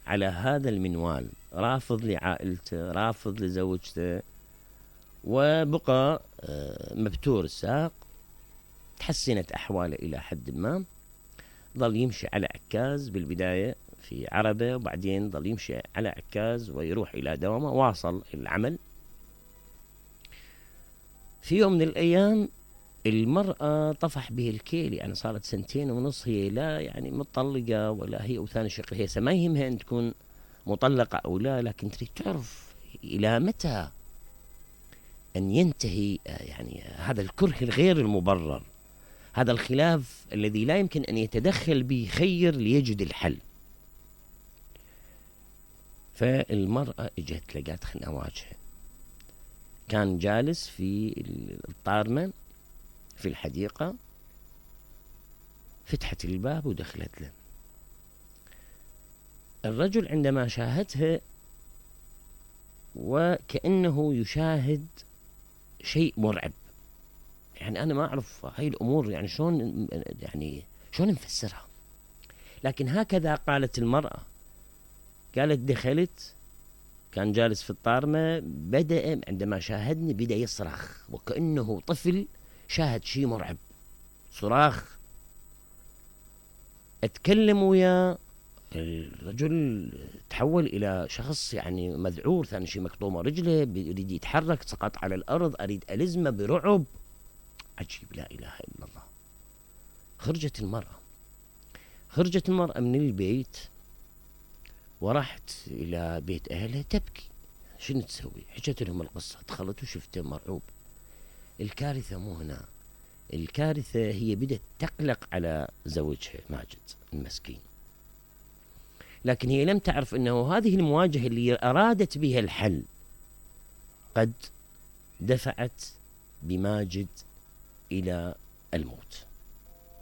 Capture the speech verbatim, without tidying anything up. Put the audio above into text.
على هذا المنوال، رافض لعائلته، رافض لزوجته، وبقى مبتور الساق. تحسنت أحواله إلى حد ما، ظل يمشي على عكاز بالبداية في عربة، وبعدين ظل يمشي على عكاز ويروح إلى دوامه، واصل العمل. في يوم من الأيام المرأة طفح به الكيل، يعني صارت سنتين ونص هي لا يعني مطلقة ولا هي وثاني شقة، هي ما يهمها أن تكون مطلقة أو لا، لكن تريد تعرف إلى متى أن ينتهي يعني هذا الكره الغير المبرر، هذا الخلاف الذي لا يمكن أن يتدخل به خير ليجد الحل. فالمرأة اجت لقات خلنا واجهه، كان جالس في الطارمة في الحديقة، فتحت الباب ودخلت له. الرجل عندما شاهدها وكأنه يشاهد شيء مرعب، يعني أنا ما أعرف هاي الأمور يعني شلون يعني شلون نفسرها، لكن هكذا قالت المرأة. قالت دخلت، كان جالس في الطارمة، بدأ عندما شاهدني بدأ يصرخ وكأنه طفل شاهد شيء مرعب، صراخ. اتكلم ويا الرجل، تحول إلى شخص يعني مذعور، ثاني شيء مكطومة رجله، يريد يتحرك، سقط على الأرض، أريد ألزمه برعب عجيب، لا إله إلا الله. خرجت المرأة خرجت المرأة من البيت وراحت إلى بيت أهلها تبكي. شنو تسوي؟ حكت لهم القصة، دخلت وشفته مرعوب. الكارثة مو هنا، الكارثة هي بدأت تقلق على زوجها ماجد المسكين، لكن هي لم تعرف أنه هذه المواجهة اللي أرادت بها الحل قد دفعت بماجد إلى الموت.